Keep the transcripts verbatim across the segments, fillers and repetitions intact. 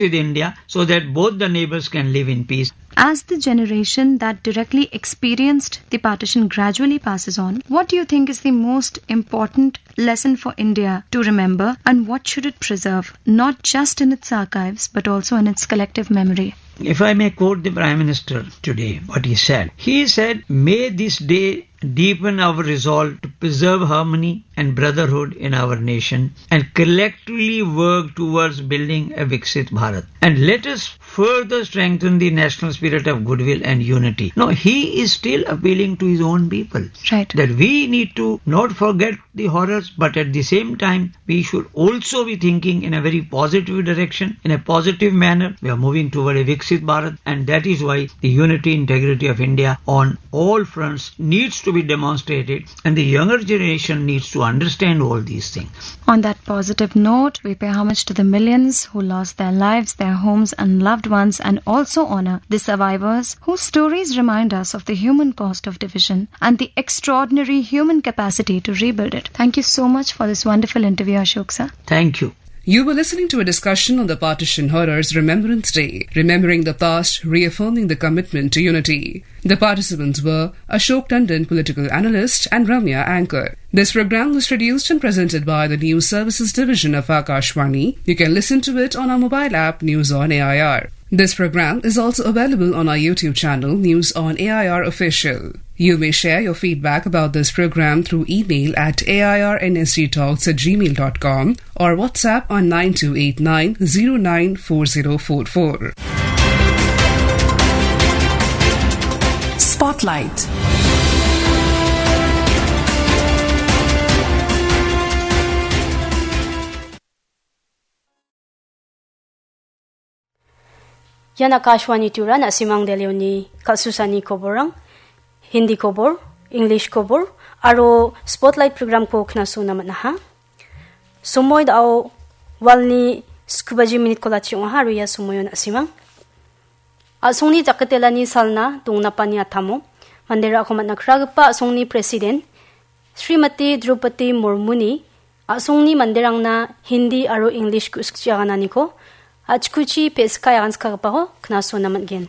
with India so that both the neighbors can live in peace. As the generation that directly experienced the partition gradually passes on, what do you think is the most important lesson for India to remember, and what should it preserve, not just in its archives, but also in its collective memory? If I may quote the Prime Minister today, what he said, he said, "May this day deepen our resolve to preserve harmony and brotherhood in our nation and collectively work towards building a Viksit Bharat. And let us further strengthen the national spirit of goodwill and unity." No, he is still appealing to his own people. Right. That we need to not forget the horrors, but at the same time, we should also be thinking in a very positive direction, in a positive manner. We are moving toward a Viksit Bharat, and that is why the unity, integrity of India on all fronts needs to be demonstrated, and the younger generation needs to understand all these things. On that positive note, we pay homage to the millions who lost their lives, their homes, and loved ones, and also honor the survivors whose stories remind us of the human cost of division and the extraordinary human capacity to rebuild it. Thank you so much for this wonderful interview, Ashok sir. Thank you. You were listening to a discussion on the Partition Horrors Remembrance Day, remembering the past, reaffirming the commitment to unity. The participants were Ashok Tandon, political analyst, and Ramya, anchor. This program was produced and presented by the News Services Division of Akashvani. You can listen to it on our mobile app, News on A I R. This program is also available on our YouTube channel, News on A I R Official. You may share your feedback about this program through email at A I R N S G talks at gmail dot com or WhatsApp on nine two eight nine zero nine four zero four four. Spotlight. Ian Akashvani Tura, na·simang delioni kal·susani koborrang, Hindi kobor, English kobor, aro Spotlight programko knasona man·aha. Somoi da·o walni sku baji minitko lati ong·aha, aro ia somoio na·simang a·songni jakitelani salna dongnapani atamo manderangko man·a kragipa a·songni presiden Srimati Draupadi Murmuni a·songni manderangna Hindi aro English ku-, sikchi agananiko a·chikuchi pe·sika aganskagipako knasona man·gen.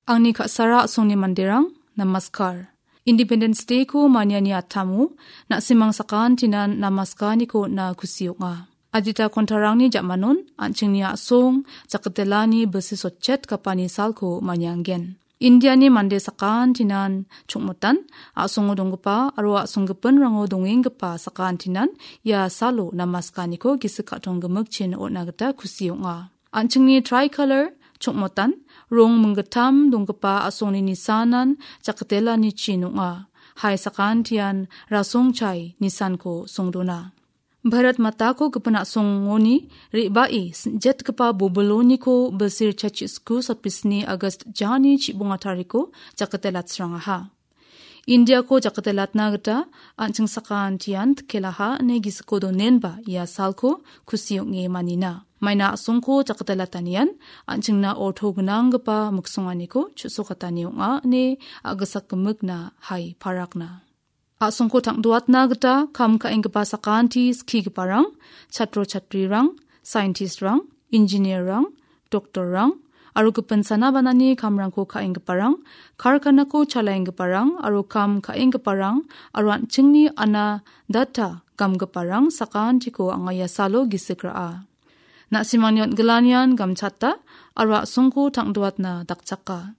Angni ka·sara a·songni manderang, namaskar. Independence Day-ko maniani atamo, na·simang sakantinan namaskaniko on·a kusi ong·a. Adita kontarangni ja·manon, an·chingni a·song, jakitelani bilsi sotchet gapani salko manianggen. Indiani mande sakantinan chongmotan, a·songo donggipa aro a·songgipinrango dongenggipa sakantinan ia salo namaskaniko gisik ka·tong gimikchin on·a gita kusi ong·a. An·chingni tricolor, chongmotan, rong minggittam donggipa a·songni nisanan jakitelanichi nong·a. Hai sakantian rasongchai nisanko songdona. Bharat Matako gipin a·songoni re·bae sinjetgipa bobiloniko bilsir chachis ku sapis ni August jani chibonga tariko jakatelatsrangaha. Indiako jakatelatna gita an·ching sakantian tikelaha ine gisiko donenba ia salko kusi ong·e manina. Maina a·songko jakatelatanian an·chingna orto gnanggipa miksonganiko chu·sokatani ong·a ine a·gisak gimikna hai parakna. A·songko tang·doatna gita kam ka·enggipa sakanti skigiparang, chatro chatrirang, scientist-rang, engineer-rang, doctor-rang, aro gipin sana banani kamrangko ka·enggiparang, karkanako chalaenggiparang, aro kam ka·enggiparang, aro an·chingni ana data gamgiparang sakantiko anga ia salo gisik ra·a. Na·simangni on·gilanian gamchata, aro a·songko tang·doatna dakchaka.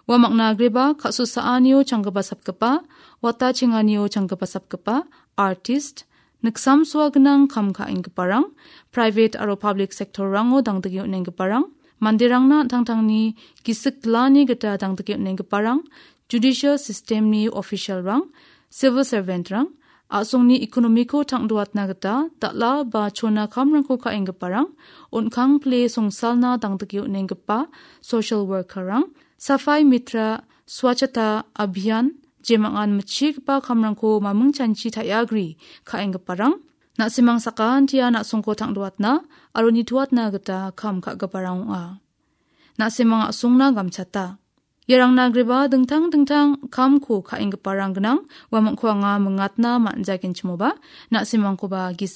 Ua mangna agreba, ka·susaanio changgipa sapgipa, wata chenganio changgipa sapgipa, artist, niksamsoa gnang kam ka·enggiparang, private aro public sector-rango dangdike on·enggiparang, manderangna an·tangtangni gisik glani gita dangdike on·enggiparang, judicial system-ni official-rang, civil servant-rang, a·songni economy-ko tang·doatna gita dal·a ba chona kamrangko ka·enggiparang, on·kang pile songsalna dangdike on·enggipa social worker-rang, Safai Mitra, Swachhata Abhiyan, jemangan mitchigipa kamrangko mamingchanchi ta·iagri ka·enggiparang, na·simang sakantian a·songko tang·doatna aro nitoatna gita kam ka·giparang ong·a. Na·simang a·songna gamchata. Iarangna agreba dingtang dingtang kamko ka·enggiparang gnang, uamangko anga mingatna man·jagenchimoba, na·simangkoba gisik